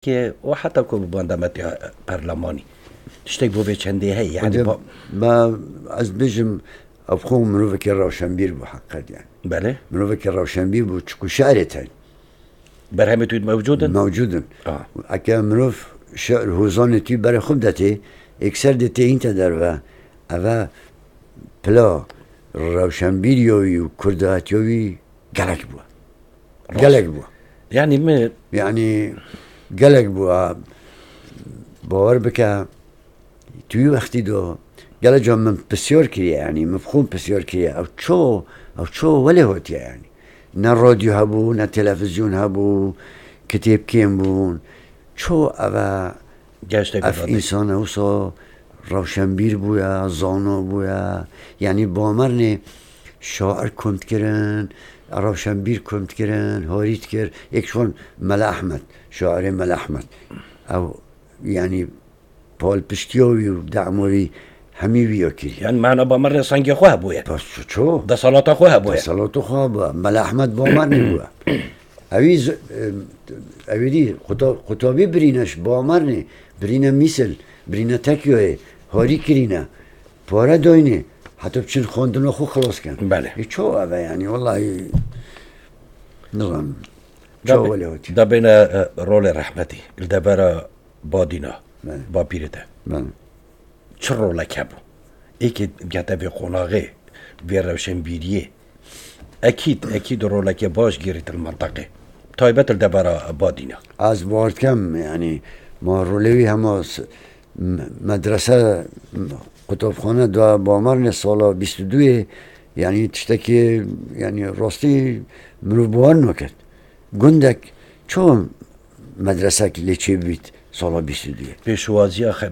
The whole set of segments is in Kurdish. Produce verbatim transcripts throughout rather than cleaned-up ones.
Ke û heta ku bi banda me tê perlemanî. Tiştek bo vê çendê heye, yani Hocam, ba- me, ez bêjim, ev xwe mirovekî rewşenbîr bû heqet yani. Belê. Mirovekî rewşenbîr bû, çiku şi'rê tey. Berhemê tu mewcud in? Mewcud in. Ah. Eke mirov şi'r hozanê tu berê xwe bidetê, êkser dê tê hîn te derve. Eve pila rewşenbîriya wî û kurdahetiya wî gelek bû. Rast. Gelek bû. Yani mi- Yani gelek bû. Ha, bawer bike, tu wî wextî de gelek ca min pisyar kiriye, yani min bi xwe pisyar kiriye. Ew ço, ew ço welê hatiye yani. Ne radyo hebû, ne televizyon hebû, kitêb kêm bûn. Ço eve Gerçekten Ev öyle. Însan e wisa rewşenbîr bûye, zano bûye. Yanî bamernê şair kom dikirin, rewşenbîr kom dikirin, harî dikir. Êk ji wan Mele Ehmed, şairê Mele Ehmed. Ew, yanî palpiştiya wî û dema wî hemî wî ya kiriye. Yani mana bamernê sengê xwe hebûye. Bes ço? Desalata xwe hebûye. Desalata xwe hebûye. Mele Ehmed bamernê bûye. Ewî z-, e, ewî dî quta-, qutabî birîne ji bamernê, birîne mîsil, birîne tekyoyê, harî kirîne, pare doyne, heta biçin xwendina xwe xilas kin. Belê. Ê ço eve yani, wellahî, nizanim. Da Ço be-, welê hotî. Da bêne, e, rolê rehmetî, li devera badîna, Belê. Bapîrê te. Belê. Çi rolek hebû? Êkê gete vê qonaxê, vê rewşenbîriyê. Ekîd, ekîd roleke baş girît li menteqê. Taybet li devera Badîna. Ez bawer dikem, yani, ma rolê wî hema s-, m-, medrese, m-, qutabxane da Bamernê sala bîst û duyê, yani, tiştekî, yani, rastî mirov bawer naket. Gundek ço medresek lê çêbît sala bîst û duyê. Pêşwaziya xe-,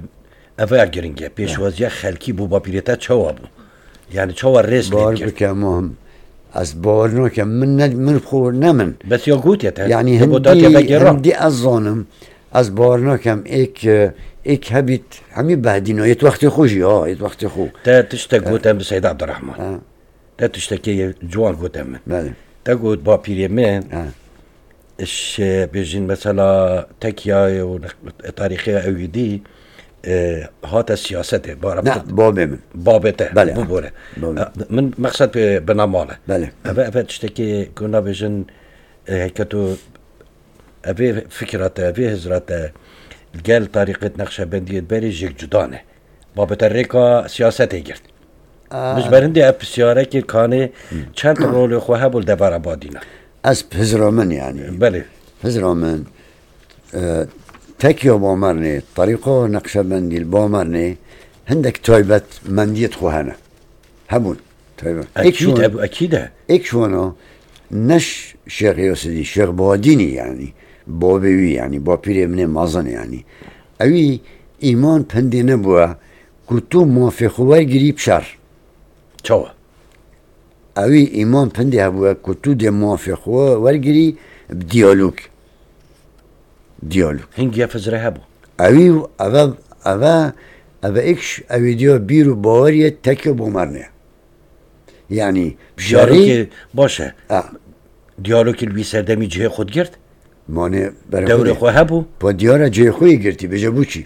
eve ya giring e. Pêşwaziya xelkî bû bapîrê te çawa bû? Yani çawa rêz lê Bawer dikir? bike, Muhim. Ez bawer nakem. Min ne, min xwe ne min. Bes ya gotiye te. Yani Te bo ta hindî, tê vegera. hindî ez zanim. Ez bawer nakem. Êk, êk hebît, hemî behdîna. Yê wextê xwe jî, ha, yê wextê xwe. Te tiştek Ha. gote bi Seyda Abdurrahman. Ha. Te tiştekê ciwan gote min. Belê. Te got bapîrê min, Ha. iş, e, bêjin mesela tekya û tarîxê ew dî, e, hate siyasetê, bara Ne, babê min. Babê te, Belê, bibore. babê. E, min mexsed bi, bina mal e. Belê. Eve, eve tiştekê ku nabêjin, e, heke tu Evê fikra te, evê hizra te gel tarîqet Neqşebendiyê berê jêk cuda ne. Babete rêka siyasetê girt. Aa. Min ji ber hindê ev pisyarekê kanê çend rolê xwe hebû li devera Badîna. Ez hizra min yani. Belê. Hizra min, e, tekiya Bamernê, tarîqa Neqşebendî li Bamernê hindek taybetmendiyê xwe hene. Hebûn. Tabii. Ekîd, Ek şuan, ev ekîd e. Ek şuana neş Şêx Yasidî, Şêx Badînî yani. Babê wî yani, bapîrê min ê mezin yani. Ewî îman pindê nebûye ku tu mafê xwe wergirî bi şer. Çawa? Ewî îman pindê hebûye ku tu dê mafê xwe wergirî bi diyalog. Diyalog. Hingî ev hizre hebû. Ewî, eve, eve, eve ek ş-, ewî diya bîr û baweriyê teke bo mernê. Yani, Diyalogê şerî baş e. Ha. Diyalogê li wî serdemî cihê xwe digirt? Mane berê Dewrê xwe xwe hebû? Pa diyara cihê xwe yê girtî, bêje bû çi?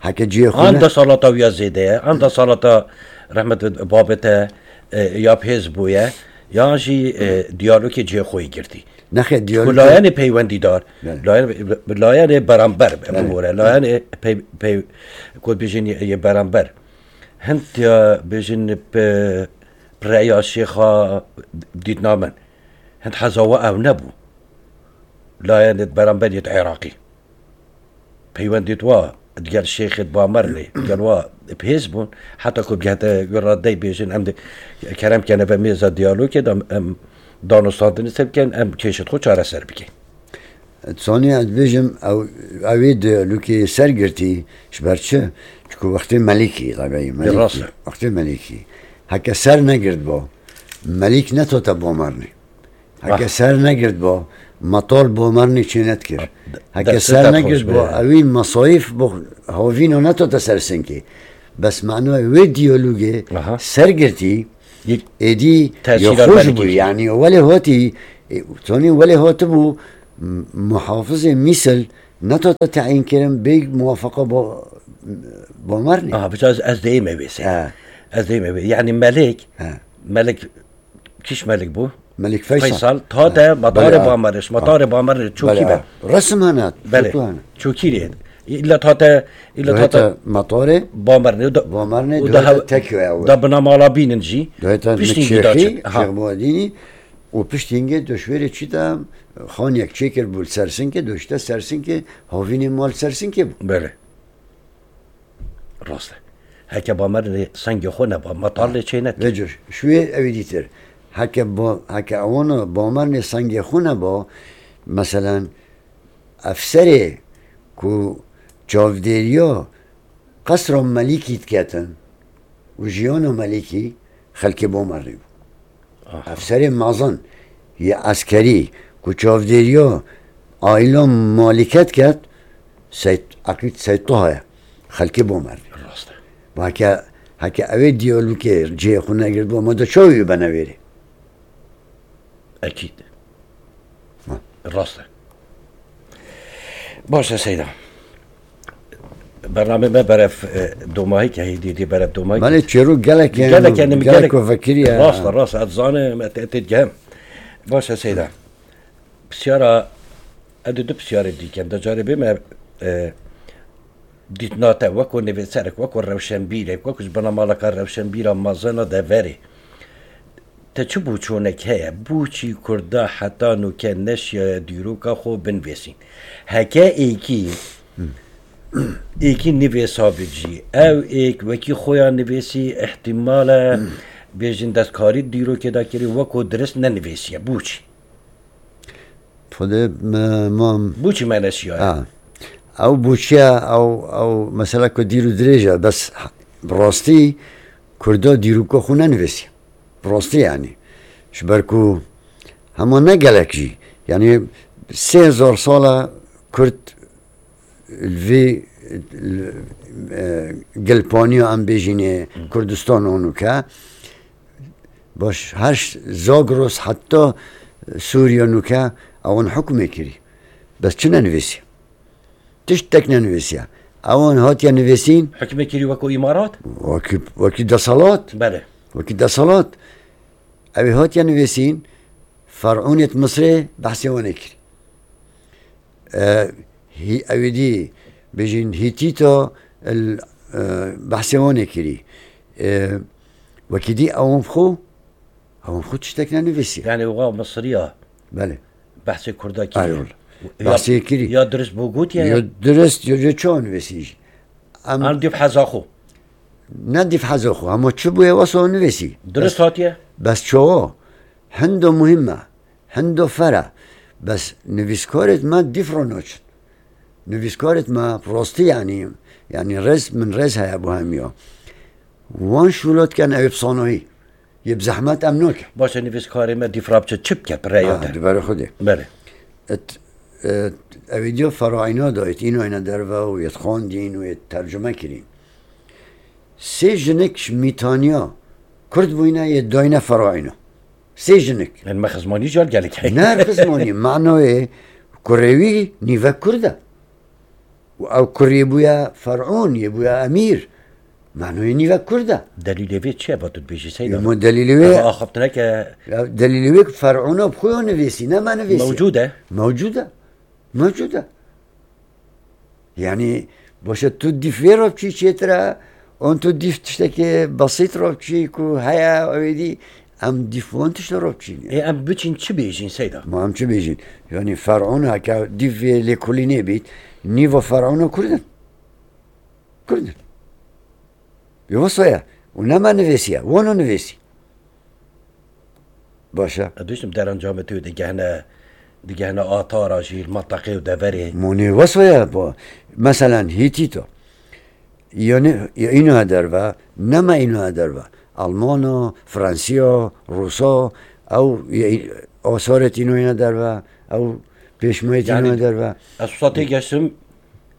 Heke cihê xwe An ne- desalata wî ya zêde ye, an desalata rehmet babete, e, ya bihêz bûye, yan jî, e, diyalogê cihê xwe yê girtî. Nexê Ku diyalogê layenê peywendîdar, Yani. layen-, layenê beramber, Yani. bibore, layenê pey-, pey-, ku bêjin yê, yê beramber. Hind ya bêjin pe-, pireya şêxa dîtna min. Hind heza we ew nebû. Layenê beramber yê Iraqî. Peywendê wa digel şêxê Bamernê, digel wa bihêz bûn. Heta ku bigehte wê radeyê bêjin, em de kerem kene ve mêza diyalogê de em danûstandinê ser bikin, em kêşet xwe çareser bikin. Sanî ez bêjim, ew, ew ê diyalogê ser girtî, ji ber çi? Çiku wextê Melîkî, tabî, Melîkî. Rast e. Wextê Melîkî. Heke ser negirtba, Melîk netote Bamernê. Heke Vah. ser negirtba, metal Bamernê çê nedikir. De-, Heke destê ser te xweş negirtba, be. ewî mesayîf bo havîna netote ser sinkê. Bes manoyê wê diyalogê Aha. ser girtî, Yek êdî tesîra ya xweş belkî bû. ki. Yani welê hatî, e, tonî welê hatibû, M-, muhafizê Mîsil netate teyîn kirin bê muwafaqa Ba-, Bamernê. Aha, biçe ez, ez deyê me vê sey. Ha. Ez deyê me vê. Yani Melik, Ha. Melik, kîş Melik bû? Melik Feysal. Feysal, tate Ha. matarê Belê, ha. Bamernê, Ha. matarê Bamernê çokî Belê, be. ha. Resim hene, Belê. foto hene. Çokî rê. İlla tate, illa Doheta tate matarê Bamernê, o da, Bamernê, o da doheta ha-, tekyo ya da bina mala bînin jî. Doheta Piştî Nikşêxî, gîda çi. Ha. Şêxbadînî, û piştî hingê döşwêrê çi de xaniyek çêkir bû li Sersinkê, doşte Sersinkê, havînê mal Sersinkê bû. Belê. Rast e. Heke Bamernê sengê xwe neba, matar lê çê neke. Vêco, şuê ewî dîtir. Heke ba-, heke ewana Bamernê sengê xwe neba, meselen, efserê ku çavdêriya qesra Melîkî diketin û jiyana Melîkî, xelkê Bamernê bû. Aha. Efserê mezin yê eskerî ku çavdêriya aîla Malîke diket, Seyd, Eqîd Seyd Toha ye. Xelkê Bamernê. Rast e. Heke, heke ew ê diyalogê cihê xwe negirtibû, ma de çawa wî bene wêrê? Ekîd. Ha. Rast e. Baş e Seyda. Bernamê me berev, e, domahî ke hêdî dî berev domahî. Belê çêrok gelek hene, Gelek hene, gelek gelek. ku vekirî ye. Rast e, rast e. Ez zanim, et, et, et gem. Baş e Seyda. Pisyara, ez di du pisyarê dî kem. De carê bê me, e, dîtina te weko nivîserek, weko rewşenbîrek, weko ji binamaleka rewşenbîra mezin a deverê. Te çi boçonek heye? Boçî Kurda heta nûke neşiyaye dîroka xwe binivîsîn? Heke êkî, êkî nivîsa bicî, ew êk wekî xwe ya nivîsî, îhtîmal e, bêjin destkarî dîrokê de kirî, weko dirist nenivîsiye. Boçî? Xwedê me mam. Boçî me neşiyaye? Ha. Ew boçiya, ew, ew mesela ku dîr û dirêj e, bes bi rastî Kurda dîroka xwe nenivîsiye. Bi rastî yani. Ji ber ku hema ne gelek jî. Yani sê hezar sal e Kurd li vê, e, gilpaniya em bêjînê Kurdistan û nûke. Baş, her ş-, Zagros heta Sûriye nûke ewan hukmê kirî. Bes çi nenivîsiye? Tiştek nenivîsiye. Ewan hatiye nivîsîn. Hukmê kirî weko îmarat? Wekî, wekî deselat. Belê. Wekî deselat. Ew ê hatiye nivîsîn, Fer'ûnêt Misrê behsê wan ê kirî. E, hî-, ew ê dî bêjin Hîtîta, el, e, behsê wan ê kirî. E, wekî dî ewan xwe, ewan xwe tiştek nenivîsiye. Yani wa Misriya Belê. behsê Kurda kiriye. Eyvallah. Ya, Behsê kirî. ya dirist bû gotiye Ya ya? dirist, ya, ya çawa nivîsî jî. Em An dîv heza xwe. Ne dîv heza xwe, hema çi bûye wesa nivîsî. Dirist hatiye? Bes çawa? Hindo muhim e. Hindo fer e. Bes nivîskarêt me dîv re naçin. Nivîskarêt me rastî yani, yani rêz, min rêz heye bo hemiya. Wan şûlat ken ew bi sanahî. Yê bi zehmet em nake. Baş e, nivîskarê me dîv re biçe çi bike, bi rêya Ha, te? di berê Xwedê. Belê. Et, et, ew ê diya Feraîna da, et îna hene derve û yê xwendîn û yê tercume kirîn. Sê jinik ji Mîtaniya Kurd bûyne, yê dayne Feraîna. Sê jinik. Yani me xizmanî car gelek heye. Ne xizmanî, manayê kurê wî nîvek Kurd e. Û ew kurê bûye Fer'ûn, yê bûye emîr. Manayê nîvek Kurd e. Delîlê vê çi ye, va tu dibêjî Seyda? Ema delîlê wê Eva axaftineke Ya delîlê wê ki Fer'ûna bi xwe ya nivîsî, ne me nivîsî. Mewcûd e. Mewcûd e. Mewcûd e. Yani, baş e, tu dîf vê re biçî çêtir e, an tu dîf tiştekê besît re biçî ku heye, ew ê dî, em dîf wan tişte re biçîn. Ê, em biçîn çi bêjîn Seyda? Ma em çi bêjîn? Yani Fer'ûn heke dîf vê lêkolînê bît, nîva Fer'ûna Kurd in. Kurd in. Ê wisa ye. Û ne me nivîsiye, wan û nivîsî. Baş e. Ez diştim derencamê tu digehne, digehne atara jî, li menteqê û deverê. Monê wisa ye, bo, meselen, Hîtîta. Yani, ya îna derve, ne me îna derve. Almana, Fransiya, Rûsa, ew, ya, asarêt îna îna derve, ew pêşmayêt îna Yani, derve. ez wisa tê geştim,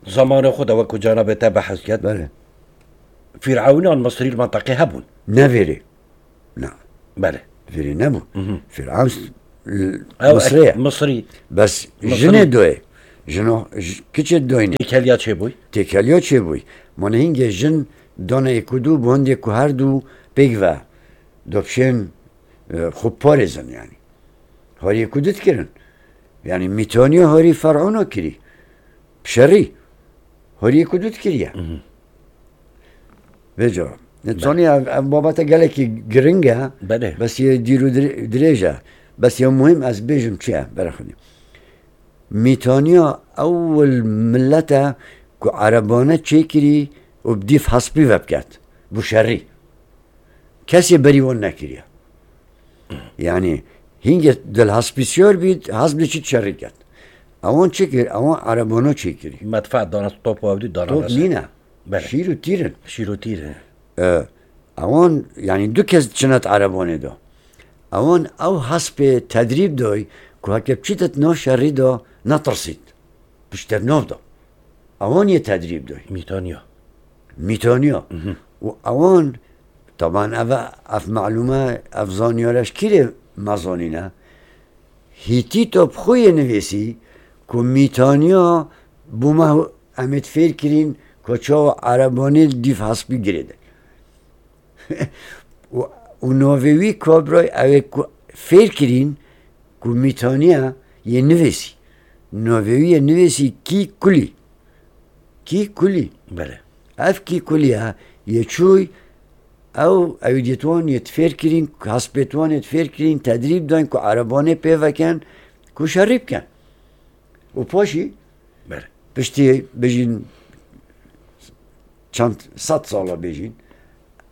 zamanê xwe de wek ku canabê te behs ket. Belê. Fîr'ewnan Misrî li menteqê hebûn. Ne vêrê. Na. Belê. Vêrê nebû. Mhm. Fîr'ewn s-, l-, Ew Misrê ye. Misrî. Bes Misrî. Jinê doyê. Jino, j-, kiçê doyne. Têkeliya çêbûy. Têkeliya çêbûy. Mane hingê jin dana êk û du, bi hindê ku her du pêk ve dopşên, e, xwe parêzin yani. Harî êk û du dikirin. Yani Mîtaniya harî Fer'ûna kirî. Şerî. Harî êk û du dikiriye. Mhm. Vêca. Belê. Zanî ev, ev babete gelekî giring e. Belê. Bes yê dîr û dire-, dirêj e. Bes ya muhîm ez bêjim çi ye, berexwedî. Mîtaniya ewil millet e ku erebane çêkirî û bi dîf hespî ve biket. Bû şerî. Kesê berî wan nekiriye. Yani hingê dil hespî siyar bît, hesp diçît şerî ket. Ewan çi kir? Ewan erebana çêkirî. Medfa dana, top û ew dî dana Top nîne. Belê. Şîr û tîr in. Şîr û tîr in. E, ewan, yani du kes çinet erebanê de. Ewan ew hespê tedrîb doy ku heke biçîtet nav şerî de netirsît. Piştet nav de. Ewan yê tedrîb doy. Mîtaniya. Mîtaniya. Mhm. Û ewan, taban ev, ev malûme, ev zanyare ji kîrê me zanîne? Hîtîta bi xwe yê nivîsî ku Mîtaniya bû me em ê fêr kirîn ku çawa erebanê dîf hespî girêde. Û, û navê wî kabray ew ê ku fêr kirîn ku Mîtaniya yê nivîsî. Navê wî yê nivîsî Kî Kulî. Kî Kulî. Belê. Ev Kî Kulî ya yê çûy ew, ew diyet wan yê fêr kirîn, hespêt wan yê fêr kirîn, tedrîb dayn ku erebanê pê veken, ku şerî biken. Û paşî Belê. Piştî bijîn çend sed sala bijîn,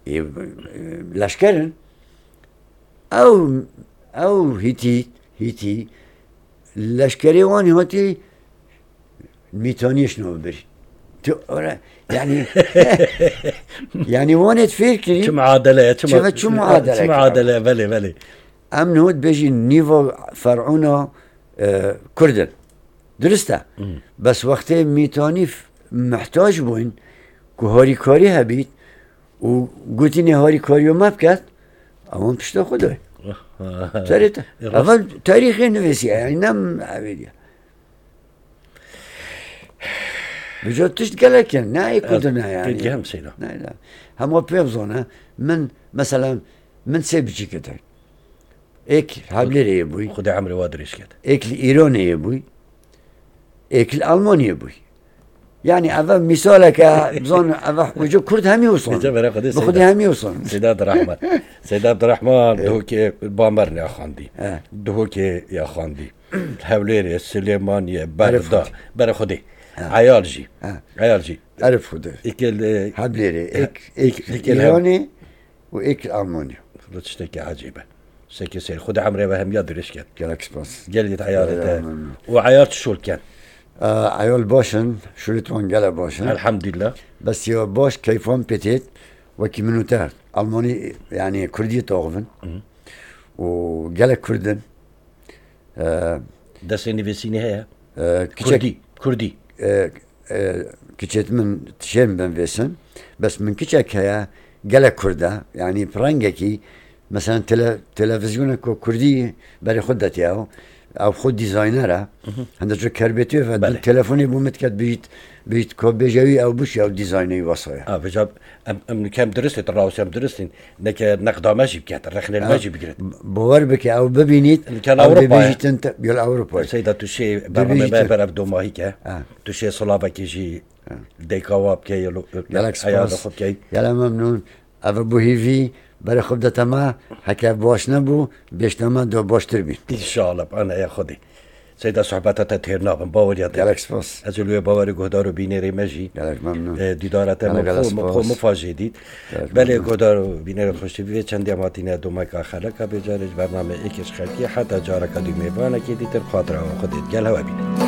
ê, e, leşker in. Ew, ew hîtî, hîtî, leşkerê wan hatî Mîtaniyê şino bir. Tu ora, yani, yani wan et fêr kirî. Çi muadele ye, çi Çi ma-, ve çi muadele çi kira? Muadele, belê, belê. Em nihot bêjin nîva Fer'ûna, e, Kurd in. Dirist e. Hmm. Bes wextê Mîtanî f-, mihtac bûyn ku harîkarî hebît û gotinê harîkariya me biket, ewan pişta xwe dayê. Serê te. E, rast. Evan tarîxê nivîsiye, yani ne evêdiye. Bica tişt gelek in, ne ê Kurd ne yani. Pêt gehem seyda. Ne, ne. Hema pê bizane, min, mesela, min sê biçîke te. Êk Heblêrê yê bûy. Xwedê emrê wa dirêj ket. Êk li Îranê yê bûy. Êk li Almanyê bûy. Yani eve misaleke, bizan eve ucu Kurd hemî wison. Ece bere Xwedê Bi Xwedê Seyda. Hemî wison. Seyda Abdurrahman. Seyda Abdurrahman, Duhokê Bamernê axandî. He. Duhokê ya xandî. Hewlêrê, Silêmaniyê, Bexda. Xwedê. Bere Xwedê. He. Eyal jî. He. Eyal jî. Erif Xwedê. Êk li Heblêrê, êk, êk êk li Îranê. û êk Almanya. Xwedê tiştekî ecêb e. Tiştekî seyr. Xwedê emrê we hemiya dirêj ket. Gelek spas. Gelek eyarê te. Gelek memnun. Û eyar çi şol ken? Aa, eyal baş in, şûlê wan gelek baş in. Elhamdülillah. Bes ya baş keyfan pê têt, wekî min û te. Almanî, yani Kurdî taxivin. Hı. Û gelek Kurd in. Ee, Destê nivîsînê heye? Ee, kiçek Kurdî. Kurdî. Ee, e, kiçêt min tişên bin vêsin. Bes min kiçek heye, gelek Kurd e. Yani pirengekî, mesela tele-, televizyoneke Kurdî berê xwe detiye ew. Ew xwe dîzayner e. Hı hı. Hende ço kerbêtî ve Belê. Du telefonê bû min diket bijît, bijît ko bêje wî ew bû şi ew dîzaynê wî wasa ye. Ha, vêca em, em kem dirist, rawşem dirist in. Neke neqda me jî biket, rexnê me Ha, jî bigirit. b-, bawer bike, ew bibînît, Nika ew Ewropa ye. Dibêjîtin te, gel Ewropa ye. Seyda, tu şê bername Dibêjîtin. Me ber ev domahî ke. Ha. Tu şê silavekî jî Ha. Dêka wa bike, yelo, Gelek eyarê spas. Xwe bike. Gelek memnun. Ev bû hîvî, berê xwe bidete me, heke baş nebû, bêjte me do baştir bîn. İnşallah, ana ya Xwedê. Seyda, sohbeta te têr nabin, baweriya te. Gelek spas. Ez li wê bawerî guhdar û bînerê me jî. Gelek memnun. E, dîdara te Gelek, min gelek xwe, min xwe spas. Min fa jê dît. Gelek Belê memnun. Guhdar û bînerê xweşî, vê çendê em hatine domeka xeleka bêcarê ji bername êkê ji xelkê heta careka dî mêvanekê dîtir xatira we xwe dêt. Gel hewe bîne.